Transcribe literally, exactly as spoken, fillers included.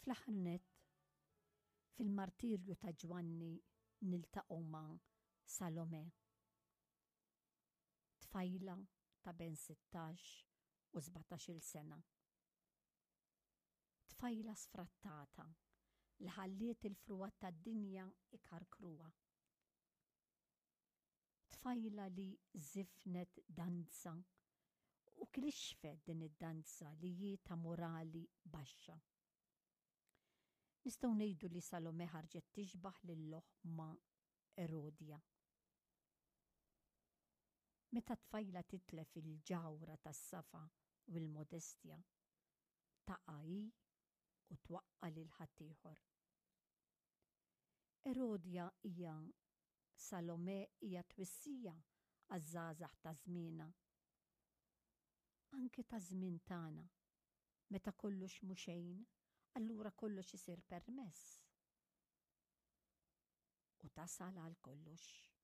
Fl-aħħar nett, fil-martirju ta' Ġwanni niltaqgħu ma' Salome. Tfajla ta' bejn sittax u sbatax-il sena. Tfajla sfrattata li ħalliet il-frugħat tad-dinja ikarkruha. Tfajla li żifnet danza u klixfet din id-danza li hi ta' morali baxxa. Nistgħu ngħidu li Salome ħarġet tixbaħ lil oħma Erodja. Meta tfajla titlef il-ġawhra tas-safa u l-modestja, taqa' hi u twaqqa' lil ħaddieħor. Erodja hija Salome hija twissija għaż-żgħażagħ ta' żmienha. Anke ta' żmien tagħna, meta kollox mhu xejn, allura kollox isir permess. U tasal għal kollox.